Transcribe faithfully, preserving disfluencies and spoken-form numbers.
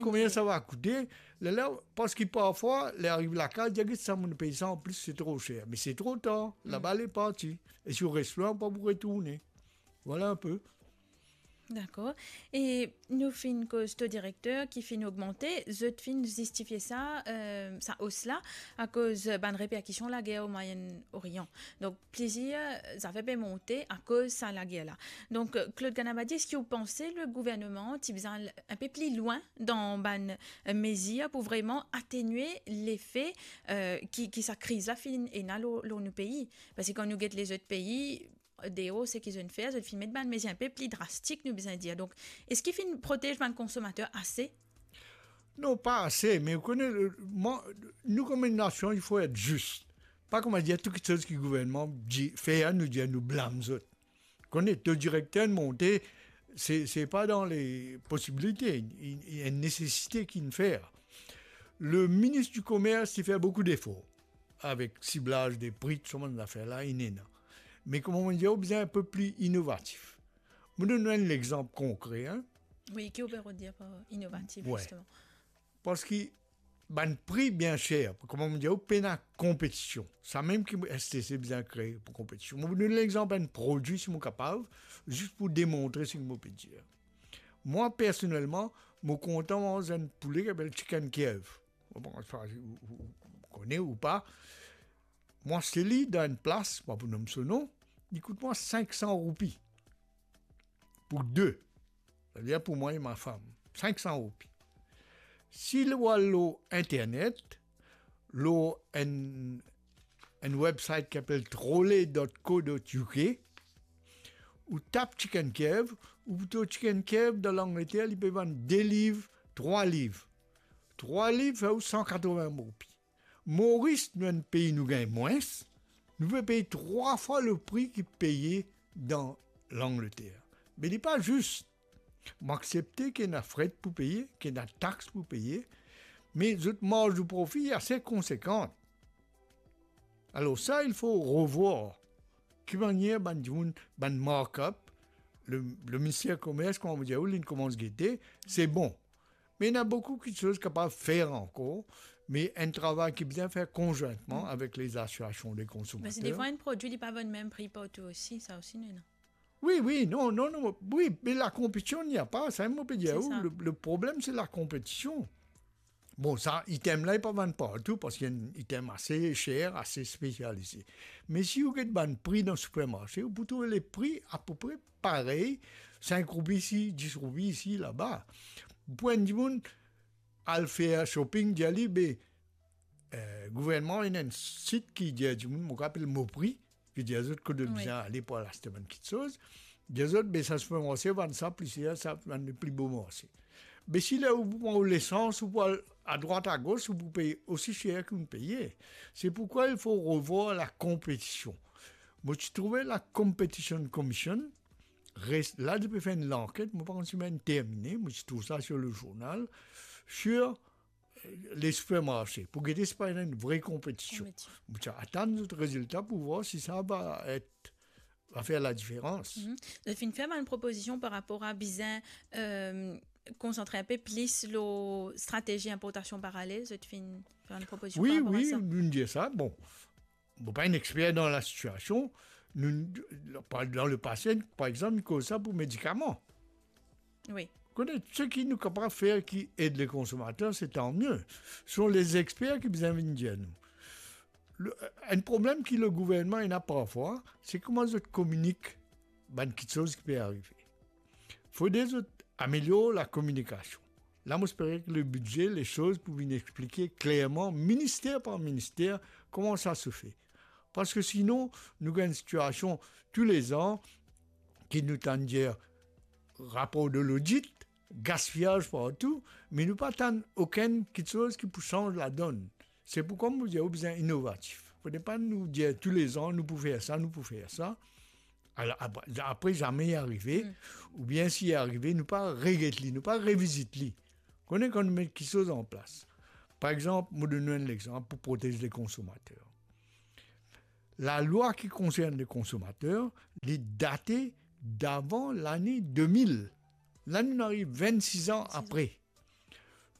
Konbien sa va koute? Lerla, parski parfwa, ler ariv lakaz, dir, "Get sa, mo pey sa anplis, se tro ser." Me se tro tar, laba le parti. E si ou res lwin, ou pa pou retourne. Vwala inpe. Dakor. E nou finn koz to direkter ki finn ogmante, zot finn zistifie sa, eh, sa os la, akoz bann reperkision lager o Moyen Orient. Donk, plizier zafer pe monte akoz sa lager la. Donk, eh, Claude Ganabadi, eski ou panse le gouverneman ti bizin al inpe pli lwin dan bann, eh, mezir pou vreman atenue lefe, eh, ki, ki sa kriz la finn ena lor, lor nou pei? Parski kan nou get lezot pei, deor, seki zot finn fer, zot finn met bann mezir inpe pli drastik, nou bizin dir. Donk, eski finn protez bann konsomater ase? Non, pa ase, me ou kone, eh, mwa, nou kouma enn nasion, il faut être juste. Pa kouma dir tou kiksoz ki gouvernman di, fer, nou dir, nou blam zot. Kone, to direkter monte, se, se pa dan le posibilite, i, i, enn nesesite ki'nn fer. Le minis di Komers ti fer boukou defor avek siblaz de pri, tou sa bann zafer la, inn ena. Me kouma mo dir, ou bizin inpe pli inovatif. Mo donn ou enn lexanp konkre, hein. Wi, ki ou pe dir par inovatif, wi, zisteman? Parski bann pri bien ser, kouma mo dir, ou pena konpetision. Samem ki S T C bizin kree pou konpetision. Mo donn lexanp enn prodwi, si mo kapav, zis pou demontre seki mo pe dir. Mwa, personelman, mo kontan manz enn poule ki apel chicken Kiev. Bon, sa, ou, ou, ou kone ou pa. Mwa, se li dan enn plas, pa pou nom so nom, li kout mwa sink san roupi. Pou de. Savedir pou mwa e ma fam. Sink san roupi. Si ou al lor internet, lor enn, enn website ki apel trolley dot co dot U K, ou tap chicken Kiev, ou pou trouv chicken Kiev dan Langleter, li pe vann de liv, trwa liv. Trwa liv fer ou san katrovin roupi. Moris, nou enn pei nou gagn mwins, nou pe pey trwa fwa le pri ki peye dan Langleter. Me li pa zis. Mo aksepte ki ena fret pou peye, ki ena tax pou peye, me zot marz de profi ase konsekan. Alor sa, il faut revoir ki manier bann dimoun, bann markup, le, le minister komers, kouma mo dir ou, li koumans gete, se bon. Me ena boukou kiksoz kapav fer ankor, me enn travay ki bizin fer konzwintman avek les associations de consommateurs. Me se defwa enn prodwi, li pa vann mem pri partou osi, sa osi, nou, non? Wi, wi, non, non, non, wi, me lakonpetision, li pa, sa mo pe dir ou, le, le problem, se lakonpetision. Bon, sa, item la, li pa vann partou, parski enn item ase ser, ase spesialize. Me si ou get bann pri dan sipermarse, ou pou trouv le pri apepre parey, sink roupi isi, dis roupi isi, laba. Pou enn dimoun al fer shopping, dir li, be, eh, gouvernman ena enn sit ki dir dimoun, mo apel Moprix, ki dir zot kot zot bizin ale pou al aste bann kiksoz. Dir zot, be, sa sipermarse vann sa pli ser, sa vann pli bo marse. Be, si ler ou pou pran ou lesans, ou pou al adrwat agos, ou pou pey osi ser ki ou'nn peye. C'est pourquoi il faut revoir la compétition. Mo ti trouve la Competition Commission, res-, la, li pe fer enn lanket, mo pa konn si inn termine, mo ti trouv sa sur le journal, sur, eh, les supermarchés, pou gete si pa ena enn vre konpetision. Konpetision. Mo ti atann zot rezilta pou vwar si sa va et, va fer ladiferans. Mhm. Zot finn fer bann propozision par rapor a bizin, eh, konsantre inpe plis lor stratezi inportasion paralel, zot finn fer bann propozision par rapor a sa? Wi, wi, nou'nn dir sa. Bon, mo pa enn exper dan la sitiasion. Nou, pa, dan lepase, par exanp, nou koz sa pou medikaman. Wi. Kone, seki nou kapav fer ki ed le konsomater, se tan mie. Se les experts ki bizin vinn dir nou. Le, enn problem ki le gouvernman ena parfwa, se kouma zot kominik bann kiksoz ki pe arive. Fode zot amelior lakominikasion. La, mo espere ki le bidze, les choses pou vinn explike klerman, minister par minister, kouma sa se fe. Parski sinon, nou gagn sitiasion toulezan ki nou tann dir rapor de lodit, gaspiyaz partou, me nou pa tann okenn kiksoz ki pou sanz ladonn. Se poukwa mo dir ou bizin inovatif. Fode pa nou dir toulezan, nou pou fer sa, nou pou fer sa. Alor, apre, apre zame li arive, oubien si li arive, nou pa reget li, nou pa revizit li. Kone kan nou met kiksoz an plas. Par exanp, mo donn nou enn lexanp pou protez le konsomater. Lalwa ki konsern le konsomater, li date davan lane de mil. La, nou ariv vennsis an apre.